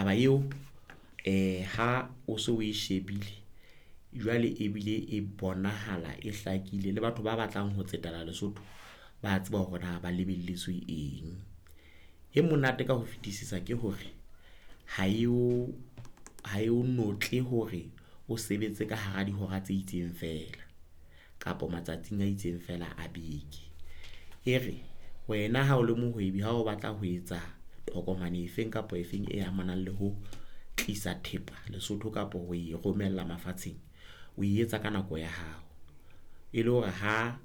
Taba eo ha o so o e shebile jwale ebile e bonahala e hlakile le batho ba batlang ho tsetela Lesotho ba tseba hore na ba lebelletswe eng. E monate ka ho fetisisa ke hore ha eo notle hore o sebetse ka hara dihora tse itseng fela kapa matsatsing a itseng fela a beke. E re wena ha o le mohwebi ha o batla ho etsa tokomane efeng kapa efeng e amanang le ho tlisa thepa Lesotho kapa ho e romella mafatsheng, o e etsa ka nako ya hao. E le hore ha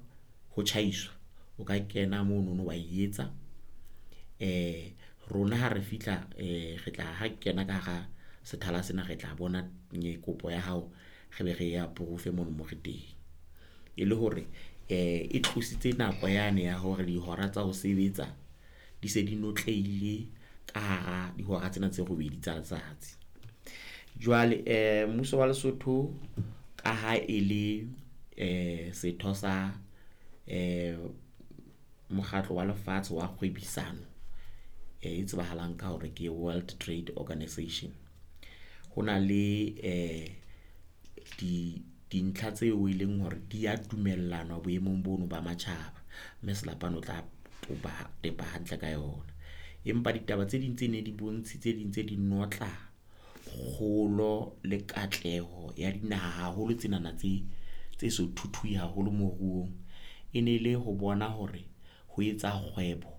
ho tjhaiswa, o ka kena monono wa e etsa. Rona ha re fihla re tla ha kena ka hara sethala sena, re tla bona kopo ya hao re be re e approve mono mo re teng. E le hore e tlositse nako yane ya hore dihora tsa ho sebetsa di se di notlehile ka hara dihora tsena tse robedi tsa letsatsi. Jwale mmuso wa Lesotho ka ha e le setho sa mokgatlo wa lefatshe wa kgwebisano e tsebahalang ka hore ke World Trade Organisation. Ho na le dintlha tseo eleng hore di a dumellanwa boemong bono ba matjhaba, mme Selapane o tla tepa hantle ka yona. Empa ditaba tse ding tse ne di bontshitse di ntse di notla kgolo le katleho ya dinaha haholo tsenana tse so thuthuhe haholo moruong. E ne le ho bona hore ho etsa kgwebo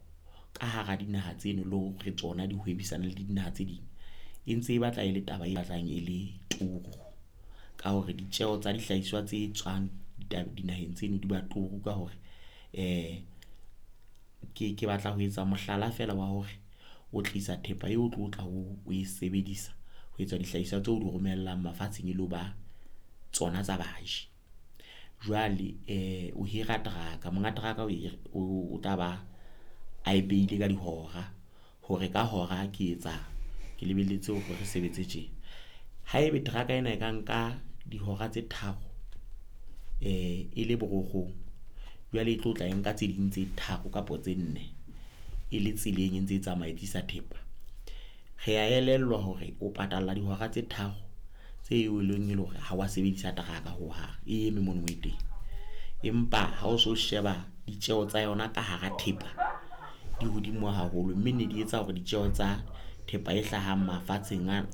ka hara dinaha tseno le hore tsona di hwebisano le dinaha tse ding e ntse e batla e le taba e batlang e le turu ka hore ditjeho tsa dihlahiswa tse tswang dinaheng tseno di ba turu ka hore ke batla ho etsa mohlala fela wa hore o tlisa thepa eo o tlo tla o e sebedisa ho etsa dihlahiswa tseo di romellang mafatsheng e lo ba tsona tsa baji. Jwale o hira teraka, monga teraka o tla ba a e behile ka dihora hore ka hora ke etsa ke lebelletse hore re sebetse tje. Haebe teraka ena e ka nka dihora tse tharo e le borokgong, jwale e tlo tla e nka tse ding tse tharo kapa tse nne e le tseleng e ntse e tsamaya e tlisa thepa. Re a elellwa hore o patala dihora tse tharo tse e leng hore ha wa sebedisa teraka ho hang e eme mono mo e teng. Empa ha o so sheba ditjeho tsa yona ka hara thepa di hodimo haholo, mme ne di etsa hore ditjeho tsa thepa e hlahang mafatsheng a .